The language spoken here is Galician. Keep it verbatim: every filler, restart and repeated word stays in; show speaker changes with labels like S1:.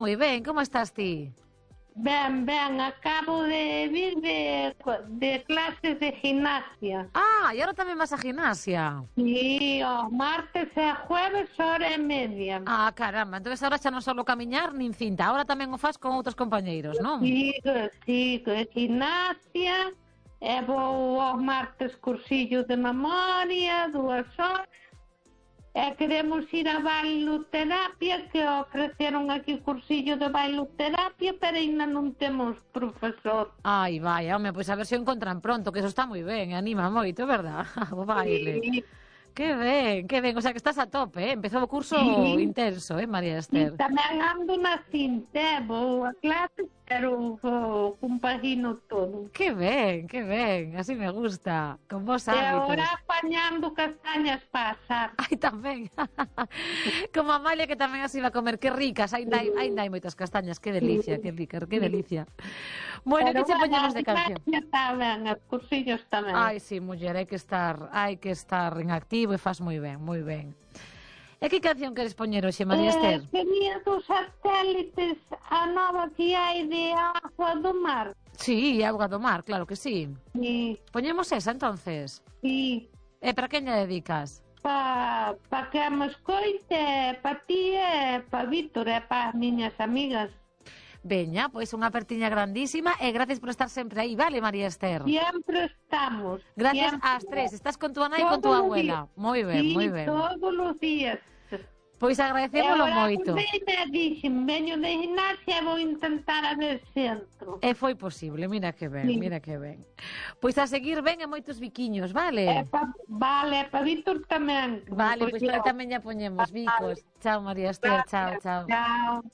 S1: Moi ben, como estás ti?
S2: Ben, ben, acabo de vir de, de clases de gimnasia.
S1: Ah, e agora tamén vas a gimnasia.
S2: Sí, os martes e jueves hora e media.
S1: Ah, caramba, entón agora xa non solo camiñar nin cinta, agora tamén o faz con outros compañeiros, non?
S2: Sigo, sigo, gimnasia, e vou aos martes cursillo de memoria, dúas horas, e queremos ir a bailoterapia, que ofreceron aquí cursillo de bailoterapia, pero ainda non temos profesor.
S1: Ai, vai, home, pois a ver se o encontran pronto, que eso está moi ben, anima moito, verdad? O baile.
S2: Sí.
S1: Que ben, que ben, o sea que estás a tope, eh? Empezou o curso
S2: Sí.
S1: intenso, eh, María
S2: E
S1: Ester?
S2: tamén ando na cinta, vou a clase, pero vou compagino todo.
S1: Que ben, que ben, así me gusta, con vos
S2: E
S1: hábitos.
S2: agora apañando castañas para asar.
S1: Ai, tamén. Como a Amalia que tamén así va a comer, que ricas, ainda hai, ainda hai moitas castañas, que delicia, que rica, que delicia. Bueno, que che poñemos de canción?
S2: Está ben, os cursillos tamén.
S1: Ai, sí, muller, hai que estar, hai que estar en activo e faz moi ben, moi ben. E que canción queres poñer hoxe, María Ester?
S2: Eh, quería dos satélites a nova que hai de agua do mar.
S1: Sí, Auga do Mar, claro que sí.
S2: Sí,
S1: Poñemos esa, entonces.
S2: sí.
S1: E para quen lle dedicas?
S2: Pa, pa que me escoite, pa ti e pa Víctor e pa as miñas amigas.
S1: Veña, pois unha apertiña grandísima e gracias por estar sempre aí, vale, María Ester?
S2: Siempre estamos.
S1: Gracias
S2: siempre.
S1: ás tres, estás con tu nai e con tu abuela. Moi ben,
S2: Sí,
S1: moi ben.
S2: todos os días.
S1: Pois agradecémolo moito.
S2: Agora dixen, veño de gimnasia e vou intentar a ver se entro.
S1: E foi posible, mira que ben,
S2: Sí.
S1: mira que ben. Pois a seguir ben e moitos biquiños,
S2: E
S1: vale?
S2: pa, vale, pa Víctor tamén.
S1: Vale, pois para tamén ya poñemos bicos. Chao, María Ester, chao, chao.
S2: Chao.